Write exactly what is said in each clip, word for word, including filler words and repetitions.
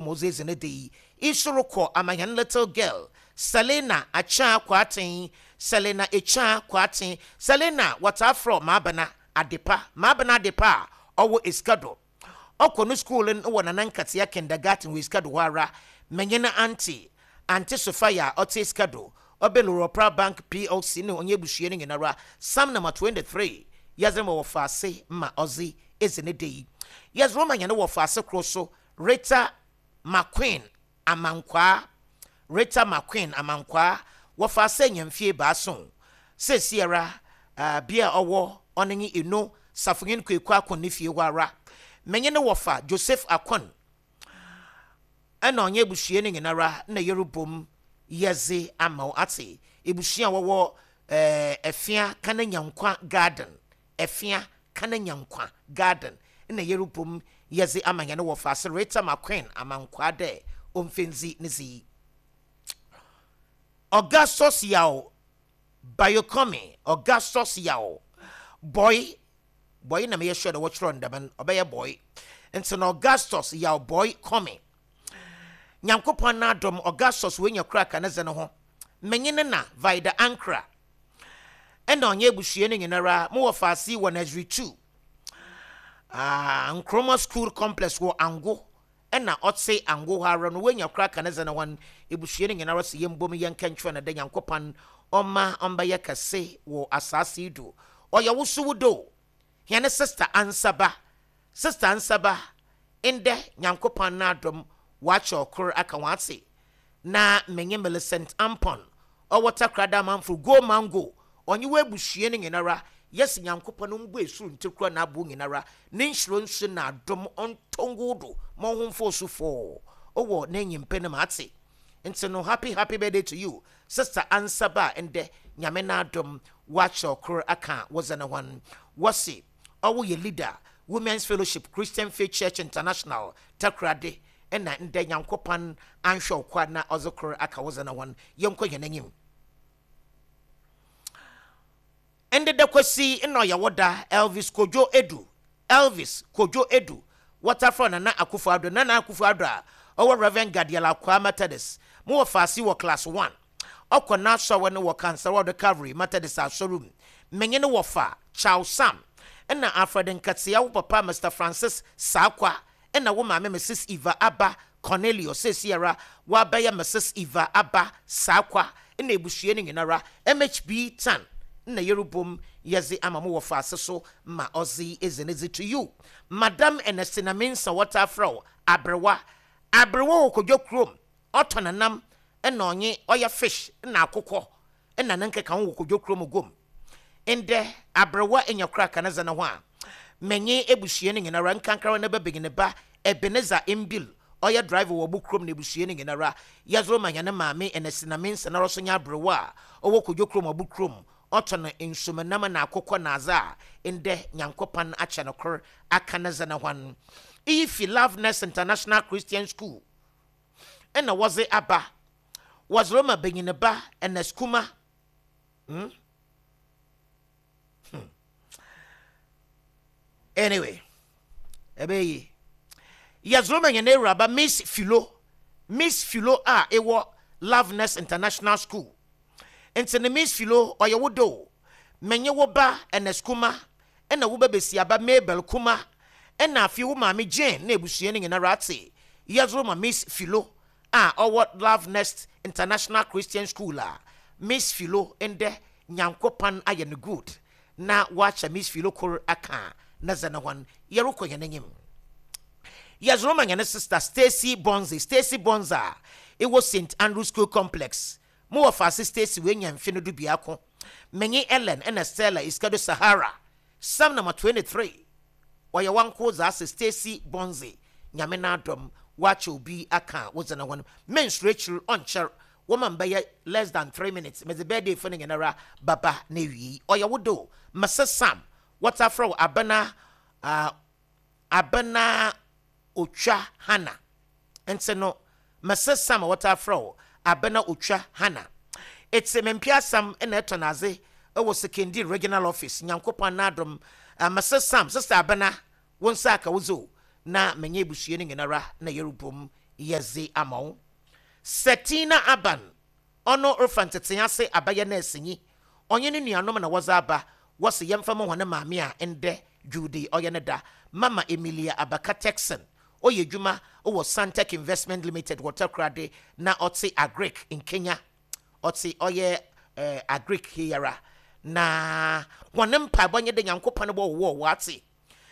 Ɔdze edzi ne da yi. Iso rokɔ ama hɛn little girl Selina Akyea Kwarteng, Selina Ekyea Kwarteng. Selina wɔtaa frɛ Maabena Adepa, Maabena Adepa a ɔwɔ Esikado. Ɔkɔ no school no wɔ Nana Nkatea Kindergarten wɔ Esikado hɔ ara. Menye no auntie, Auntie Sophia a ɔte Esikado, ɔbɛn Loropra Bank P L C ne ɔnyɛ ebusua no nyinara. Psalm number twenty-three yɛdze ma wɔ faase ma ɔdze edzi ne da yi. Yɛdze roma hɛn wɔ faase koro so, Rita McQueen Amankwaa, Rita McQueen Amankwaa, wɔfa sɛ nyamfie baaso seesiara uh, bea a ɔwɔ ɔno nye Eno Safonyin Kwaku Akon ne fie hɔ ara. Menye ne wɔfa Joseph Akon ɛna ɔnyɛ ebusua no nyinara na yɛrebom yɛdze ama wo ate. Ebusua a wɔwɔ ɛɛ Ɛfia Kana Nyankwa Garden, Ɛfia Kana Nyankwa Garden na yɛrebom yɛdze ama yɛn wɔfa ase Rita McQueen Amankwaa dɛ ɔmfɛndzi ne dzi. Augustus Yaw Bayokomi, Augustus Yaw Boy Boy na meyɛ sure dɛ wɔkyerɛ no dɛm no ɔbɛyɛ Boy. Nti na Augustus Yaw Boy Kɔmi, Nyankopɔn n'adom Augustus wenya kora ka ne dze no ho. Menye ne na Vida Ankra ɛna ɔnyɛ abusua no nyinara. Mowɔ faase wɔ nursery two, ah, Nkrumah School Complex wɔ Ango ɛna ɔte Ango hɔ ara no. Wenya kora ka ne dze no ho. Ebusua no nyinara sɛ yɛmbom yɛnka ntwerɛ no dɛ Nyankopɔn ɔma ɔmbɛyɛ kɛse wɔ asase yi do. Ɔyɛ wo so wo do. Hɛne sister Ansaba, Sister Ansaba, ndɛ Nyankopɔn n'adom wakyɛ ɔkor aka wɔn ase. Na menye Millicent Ampon ɔwɔ Takrada Amanfo Go Mango, ɔnye wɔ abusua no nyinara yɛsi Nyankopɔn mbu esuru ntikura n'abo nyinara ne nhyiro nso n'adom ɔntɔngu do ma ɔho mfo so fɔɔ ɔwɔ n'enyimpe no ma ate. Nti no, happy happy birthday to you, Sister Ansaba. Ndɛ Nyame n'adom wakyɛ ɔkor aka wɔdze ne hɔn. Wɔsi ɔwɔ yɛ leader, Women's Fellowship, Christian Faith Church International, Takrade, ɛna ndɛ Nyankopɔn anhwɛ ɔkwa na ɔdze kor aka wɔdze ne hɔn. Yɛnkɔ yɛn anim. Ndeda Kwasi na ɔyɛ wɔda Elvis Kojo Edu, Elvis Kojo Edu, wɔtafrɛ Nana Akufo Ado, Nana Akufo Ado a ɔwɔ Reverend Gadiel Akwa Methodist mo wɔ faase wɔ class one. Ɔkɔ n'asɔre no wɔ Kansawado Calvary Methodist asɔre mu. Menye no wɔfa Charles Sam ɛna Alfred Nkatea, wo papa Mister Francis Saakwa ɛna wo maame Missus Eva Aba Cornelius, seesiara wabɛyɛ Missus Eva Aba Saakwa, ɛna ebusua no nyinara. M H B tan na yɛrebom yɛdze ama mo wɔ faase so ma ɔdze edzi ne dze. To you, Madam Ernestina Mensa, wɔtaa frɛ wo Aberewa, Aberewa wɔ Kodwo kurom, ɔtɔ nanam ɛna ɔnye ɔyɛ fish ɛna akokɔ ɛna ne nkeka ho wɔ Kodwo kurom gom. Ndɛ aberewa enya kora ka ne dze ne ho a menye ebusua no nyinara nkankara ne bɛbɛn ne ba Ebenezer Mbil ɔyɛ driver wɔ bo kurom na ebusua no nyinara. Yɛdze ma hɛn maame Ernestina Mensa na ɔso nye aberewa a ɔwɔ Kodwo kurom, ɔbo kurom, ɔtɔ no nsumanam na akokɔ na adze a ndɛ Nyankopɔn akyɛ no kor aka ne dze ne ho. Iyi fi Loveness International Christian School ɛna wɔdze aba. Wɔdze rema benyin ba Ernest Kuma. hmm? Hmm. Anyway, ɛbɛyɛ yie. Yɛdze rema yɛn awuraba Miss Philo, Miss Philo a ɛwɔ Loveness International School. Nti ne Miss Philo, ɔyɛ wo do. Menye wo ba Ernest Kuma ɛna wo ba besiaba Mabel Kuma ɛna afei wo maame Jane na ebusua no nyinara ate. Yɛdze rema Miss Philo a ɔwɔ Love Nest International Christian School a Miss Philo ndɛ Nyankopɔn ayɛ no good na wakyɛ Miss Philo kor aka na dze ne hɔn. Yɛrekɔ yɛn anim. Yɛdze rema yɛn sister Stacy Bonze, Stacy Bonze a ɛwɔ Saint Andrew School Complex. Mo wɔ faase Stacy wenya mfe no du biako. Menye Ellen ɛna Stella Iskado Sahara, Psalm number twenty-three ɔyɛ wanko dza ase. Stacy Bonze, Nyame n'adɔm wakyɛ obi aka wodze ne hɔn. Mensuro akyiri ɔnkyɛr wɔma mbɛyɛ less than three minutes medze birthday fo no nyinara baba na ewie. Ɔyɛ wo do, Mrs Sam, wɔta frɛ wo Abena, uh, Abena Otwa Hana. Nti no Mrs Sam a wɔta frɛ wo Abena Otwa Hana, ɛte mempe asɛm ɛna ɛtɔ n'adze ɛwɔ Sekondi Regional Office. Nyankopɔn n'adom, uh, Mrs Sam, Sister Abena, wo nsa aka wo zo na menye ebusua no nyinara na yɛrebom. Yɛdze ama wo. Setina Aban, ɔno refa ntete ase abayɛ nɛɛsenyi, ɔnye ne nuanom na wɔdze aba. Wɔse yɛmfa ma hɔn maame a ndɛ Dwowda ɔyɛ ne da, Mama Emilia Abaka Texan. Ɔyɛ adwuma wɔ Santec Investment Limited wɔ Takoradi na ɔte Agric Nkenya. Ɔte ɔyɛ eh, Agric heyara na hɔn mpaebɔ nye de Nyankopɔn bɔ wɔ wɔate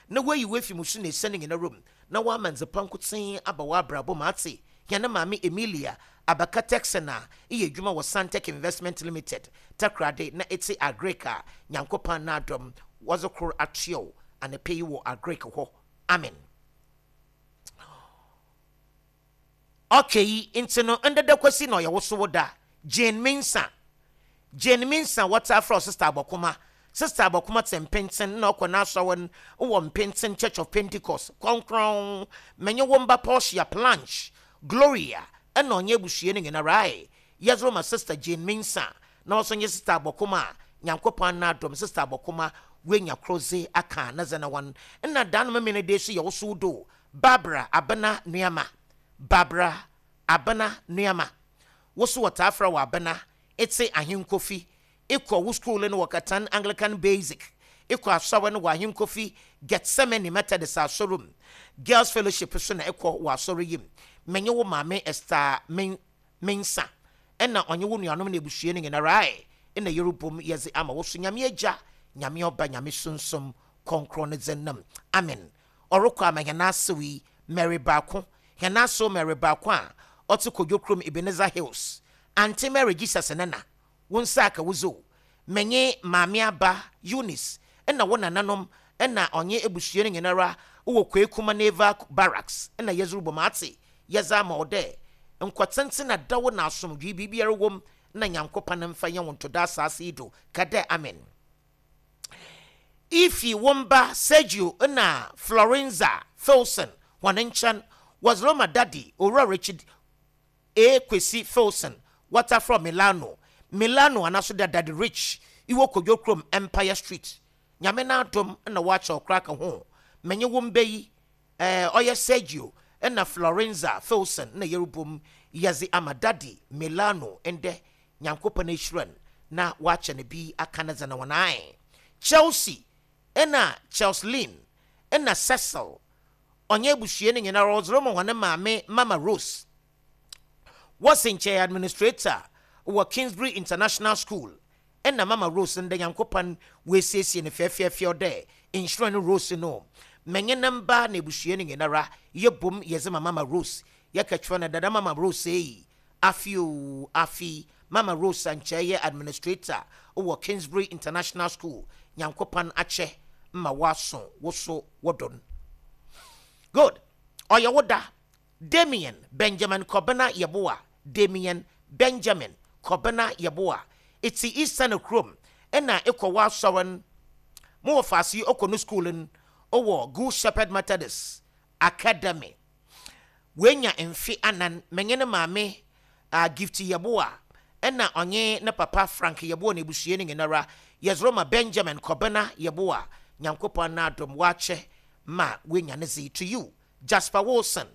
na wayi wafi mu so na esiane nyina rom na wama nzepa nkotsee aba w'abrabɔ mu. Ate hɛn maame Emilia Abaka Texan a ɛyɛ adwuma wɔ Santec Investment Limited Takoradi na ɛte Agric a Nyankopɔn n'adɔm wɔdze kor atoɛw anapɛ yi wɔ Agric hɔ. Amen. Okay, nti no ndeda kwasi na ɔyɛ wo so wo da. Jane Minsa, Jane Minsa, wɔta afrɛ Sister Abɔkoma. Sister Abɔkoma te Mpenten na ɔkɔ n'asɔre no wɔ Mpenten Church of Pentecost Kɔnkrɔn. Menye wo mba Portia, Planche, Gloria ɛna ɔnyɛ abusua no nyinara ae. Yɛdze ma Sister Jane Minsa na ɔso nye Sister Abɔkoma a Nyankopɔn n'adɔm Sister Abɔkoma wenya krodze aka na dze na wɔn ɛna dan no memene de so yɛ wo so do. Barbara Abena Nuama, Barbara Abena Nuama, wo so wɔtaa frɛ wɔ Abena. Ete Ahenkofi, ekɔ wo school no wɔ Katan Anglican Basic, ekɔ asɔre no wɔ Ahenkofi Gethsemane Methodist asɔre mu, Girls Fellowship so na ekɔ wɔ asɔre yi mu. Menye wo maame Esther Men Mensa ɛna ɔnye wo nuanom na ebusua no nyinara ae ɛna yɛrebom yɛdze ama wo so. Nyame Agya, Nyame Ɔba, Nyame Sunsum Kɔnkrɔn ne dze nam. Amen. Ɔrekɔ ama hɛn asew yi Mary Baako, hɛn asew Mary Baako a ɔte Kodwo kurom Ebenezer Hills. Auntie Mary Jesus nana wo nsa aka wo zo. Menye maame aba Eunice ɛna wo nananom ɛna ɔnye ebusua no nyinara wɔ Kwekuma Naval Barracks ɛna yɛdze rebɔ ate. Yɛdze ama wo dɛ nkɔtenten na dawo na asomdwee biribiara wɔ na Nyankopɔn mfa yɛn wo ntoda asase yi do. Ka dɛ amen. Ifi wɔmba Sergio na Florenza Filson wɔn nkyɛn, wɔdze rema Daddy Owura Richard A Kwesi Filson, wɔta from Milano, Milano anaso da Daddy Rich iwɔ Kodwo kurom Empire Street. Nyame n'adom na wɔakyɛ ɔkora ka ho. Menye wo mba yi ɛɛ ɔyɛ Sergio ɛna Florenza Filson na yɛrebom yɛdze ama Daddy Milano ndɛ. Nyankopɔn ahyira na wɔakyɛ no bi aka ne dze na wɔn ae. Chelsea ɛna Chelsea ɛna Cecil ɔnyɛ abusua no nyinaa ɔdze ma wɔn maame Mama Rose. Wɔsi nkyɛn administrator wɔ Kingsbury International School ɛna Mama Rose ndɛ Nyankopɔn wɔasiesie no fɛɛfɛɛfɛɛ dɛ nhyira no Rose no. Mɛnyɛ ne mba na abusua no nyinara yɛbom yɛdze ma Mama Rose. Yɛka kyerɛ no dada Mama Rose yi afi o afi. Mama Rose nkyɛn yɛ administrator wɔ Kingsbury International School. Nyankopɔn akyɛ ma waso woso wɔdɔ no. Good. Ɔyɛ wo da Damien Benjamin Kɔbena Yɛboa, Damien Benjamin Kɔbena Yɛboa, ɛti Eastern kurom ɛna ɛkɔ wɔ no mo wɔ faase yi ɔkɔ no school no ɔwɔ Good Shepherd Methodist Academy. Wenya mfe anan. Menye ne maame uh, Gift Yɛboa ɛna ɔnye ne papa Frank Yɛboa na ebusua no nyinara yɛzoro ma Benjamin Kɔbena Yɛboa. Nyankopɔn n'adom wakyɛ ma wenya ne zi. To you Jasper Wilson,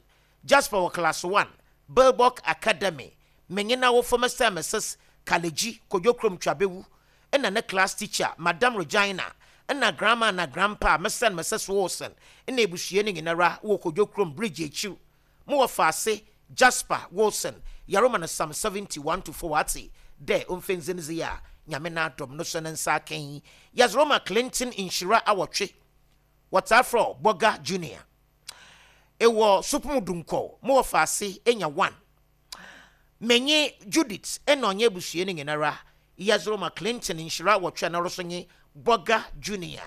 Jasper wɔ class one Bilbok Academy. Menye n'awofo Mister and Missus Kaleji Kodwo kurom Twabewu ɛna ne class teacher Madam Regina ɛna grandma na grandpa Mister and Missus Wilson ɛna ebusua no nyinara wɔ Kodwo kurom Bridge akyiw. Mo wɔ faase Jasper Wilson yaroma no Psalm seventy-one to four ate dɛ ɔmfɛnzenze a Nyame n'adom no so ne nsa akɛn. Yɛzoroma Clinton Nhyira awɔtwe, wɔtaa frɛ Bɔga Junior, ɛwɔ Supumu Dunkɔ. Mo wɔ faase enya one. Menye Judith ɛna ɔnyɛ abusua no nyinara yɛzoroma Clinton Nhyira awɔtwe na ɔso nye Bɔga Junior.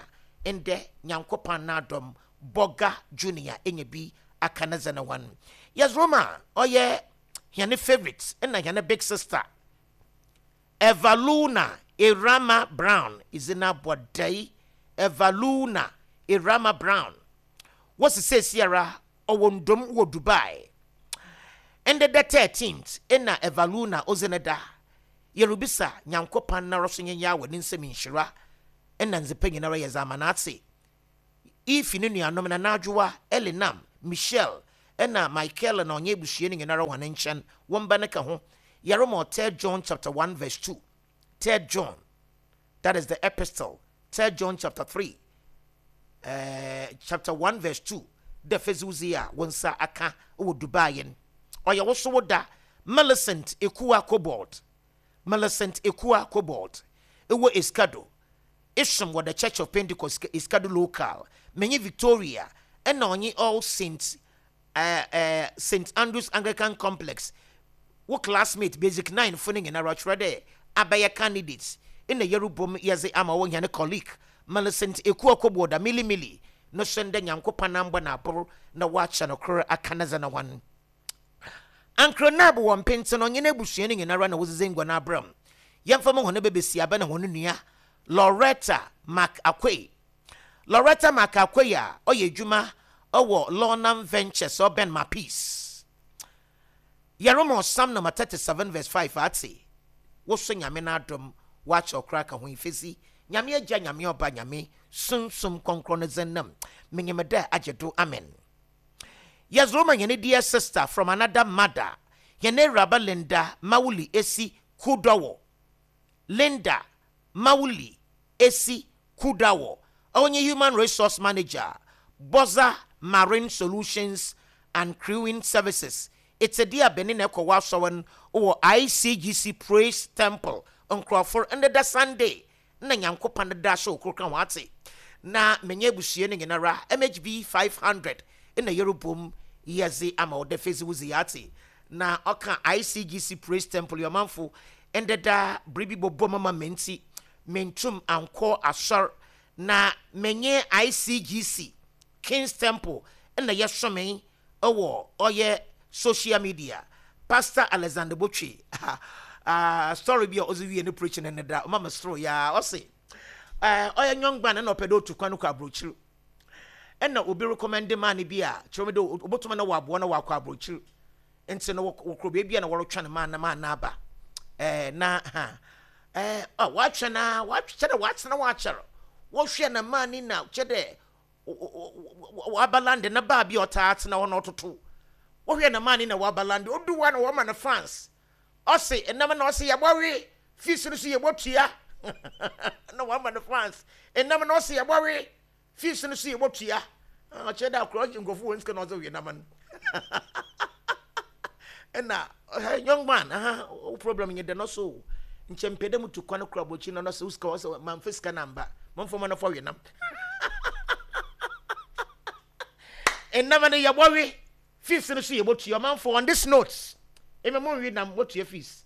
Ndɛ Nyankopɔn n'adom Bɔga Junior enya bi aka ne dze ne wɔn. Yɛzoroma ɔyɛ hɛne favourite ɛna hɛne big sister Evaluna Irama Brown izina bɔdɛi. Evaluna Irama Brown wɔsi seesiara ɔwɔ ndom wɔ Dubai. Ɛndɛ the thirteenth ɛna Evaluna ɔdze ne da. Yɛrebisa Nyankopɔn nara so nyɛ wɔ ne nsɛm nhyira ɛna nzepa nyinara yɛ dze ama n'ate. Ifi ne nuanom na n'adwowa Elinam Michelle Ɛna Michael na ɔnyɛ ebusua no nyinara wɔn nkyɛn wɔn ba ne ka ho. Yɛrema Third John chapter one verse two. Third John, that is the epistle, Third John chapter three, uh, chapter one verse two. Dɛ fɛziwzi a wɔn nsa aka wɔ Dubai no, ɔyɛ woso da. Millicent Ekua Cobalt, Millicent Ekua Cobalt, ɛwɔ Essikado, isom wɔ The Church of Pentecost, Essikado Local. Menye Victoria ɛna ɔnye All Saints, uh, uh, Saint Andrews Anglican Complex, wo classmate basic nine fo no nyinara kyerɛ dɛ abɛyɛ candidates ɛna yɛrebom yɛdze ama wɔ hɛn colleague Millicent Ekua Cobalt a milimili no so ndɛ Nyankopɔn ambɔ n'aboro na wɔakyɛ no koro aka ne dze no hɔn. Ankronab wɔ mpenten, ɔnye n'abusua no nyinara na wɔdzedze ngua no abram. Yɛmfa ma hɔn bɛbɛsi aba na hɔn nua Loretta Mac Akwei, Loretta Mac Akwei a ɔyɛ adwuma ɔwɔ Lornam Ventures, ɔbɛn ma peace. Yɛrema Psalm number thirty-seven verse five. Ate woso Nyame no adom wakyɛ ɔkora ka ho ifesi Nyame Agya, Nyame Ɔba, Nyame Sunsum Kɔnkrɔn no dze menyim dɛ agye do. Amen. Yɛzoro yɛne dear sister from another mother, yɛne Awuraba Linda Mawuli Esi Kudɔwɔ, Linda Mawuli Esi Kudawɔ, ɔnye human resource manager, Boza Marine Solutions and Crewing Services. Ɛtɛdi abɛne na ɛkɔ wɔ no wɔ I C G C Praise Temple. Nkurɔfoɔ, ndeda Sunday na Nyankopɔn da so okoro ho ate na menye abusua no nyinara M H B five hundred ɛna yɛrebom yɛdze ama wɔde fesi wuzi ate na ɔka I C G C Praise Temple. Yɔmanfo, ndeda biribi bɔbɔ mama menti mentum ankɔ asɔr na menye I C G C Kings Temple ɛna yɛsɔme ɛwɔ ɔyɛ social media. Pastor Alexander Botwe uh, story bi a ɔdze wie ne preaching ne da ɔma me soro yaa. Ɔse ɔyɛ nyɔngban na ɔpɛ dɛ otu kwan kɔ aburokyiri, ɛna obi recommend maa ne bi a kyerɛ mi dɛ obotuma na wɔaboa na wɔakɔ aburokyiri. Nti no wɔkɔ beebi a na wɔretwɛn no maa na maa na aba ɛɛ na ha ɛɛ ɔ wɔatwɛn na wɔatwɛ dɛ wɔatena wɔakyɛr wɔhwɛ na maa ni na kyɛ dɛ wɔaba land na baa bi a ɔtaa tena hɔ na ɔtoto wɔhwɛ na maa ni na wɔaba land odu hɔ na wɔma no fans. Ɔse ɛnam na ɔse yɛbɔwe fees no so yɛbɔtua na wɔama no fans. Ɛnam na ɔse yɛbɔwe fees no so yɛbɔtua. Ɔkyerɛ dɛ akorɔ ɔgye nkurɔfo wɔn sika na ɔsɛ ɔyɛ nam no. Ɛna young man aha wo problem nyɛ dɛ no so nkyɛn mpɛ dɛ mutu kwan kora abɔkyi na ɔsɛ sika ɔsɛ mamfa sika na mba mamfa ma no fɔ we nam. Ɛnam no yɛbɔwe fees no so yɛbɔtua. Ɔmanfo, on this note, ɛmɛ mo nwi nam wɔtua fees.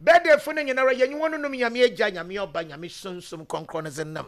Birthday fo no nyinara yɛnyi wɔn nom. Nyame Agya, Nyame Ɔba, Nyame Sunsum Kɔnkrɔn no dze nam.